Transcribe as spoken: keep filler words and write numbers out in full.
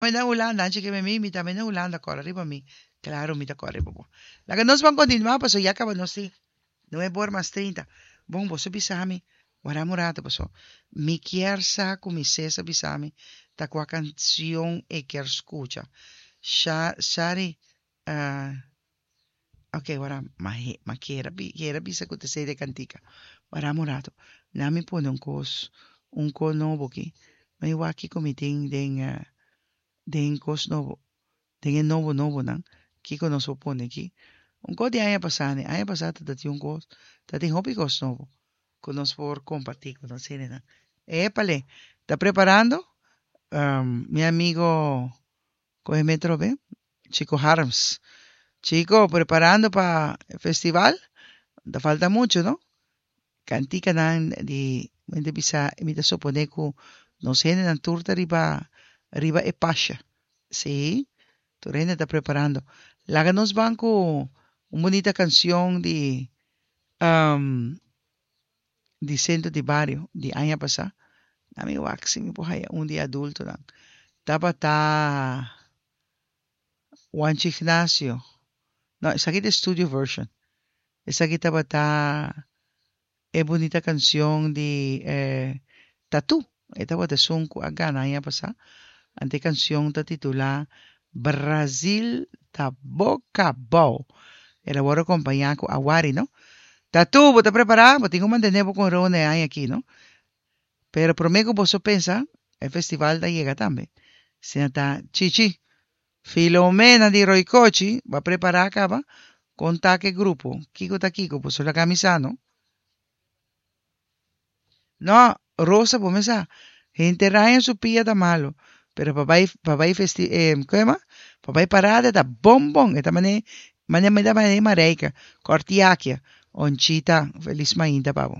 Na Hulanda, antes ku mi, mi tambe na Hulanda, kòrda riba mi. Klaro, mi ta kòrda riba bo. Laga nos ban kontinuá, paso ya kaba nos tin nuebe or mas trinta. Bon, boso bisa mi, warda un ratu, paso. Mi kier sa ku mi César bisa mi, ta kua kansion e kier skucha. Sha, Shari, uh, ok, warda, ma, ma kier, kier bisa ku ta e kantika. Warda un ratu. Laga mi pone un kos, un kos nobo aki. Mi wak kiko mi tin den, uh, den kos nobo. Den nobo nobo nan. Kiko nos por pone aki. Un kos di aña pasá, ne? Aña pasá tabatin un kos, tabatin hopi kos nobo. Ku nos por kompartí ku nos nan. Épale, ta preparando? Um, mi amigo Kohe Metro B, Chico Harms. Chico, preparando pa e festival? Ta falta mucho, no? Kantika nan di mi bisa mi ta suponé ku nos hendenan tur ta riba riba e pasha. Sí, tur hende ta preparando. Laga nos ban ku un bunita kansion di um, di Sentro di Bario di aña pasá. Ami wak si mi por haya un di adulto nan. Tabata Juanchi Ignacio. No, esaki ta studio version. Esaki tabata e bunita kansion di eh, Tatu. E tabata esun ku a gana aña pasá. Anto e kansion ta titulá Brasil ta boka bou. El a wòrdu kompañá ku Awari, no? Tatu, bo ta prepará? Bo tin ku mantené ku Rone aki, no? Pero promé ku bo pensa, e festival ta yega tambe. Senta Chichi. Filomena di Roicochi, bai prepará kaba. Konta ku grupo. Kiko ta Kiko, pues la camisa, no? No, Rosa, kuminsá. Hende raña su pia ta malo. Pero pa bai, pa bai festi, eh, kon Pa bai parada ta bon bon. E ta mane, mane mane mane Mareika. Kortiakia. Onchita, felis mainta pa bo.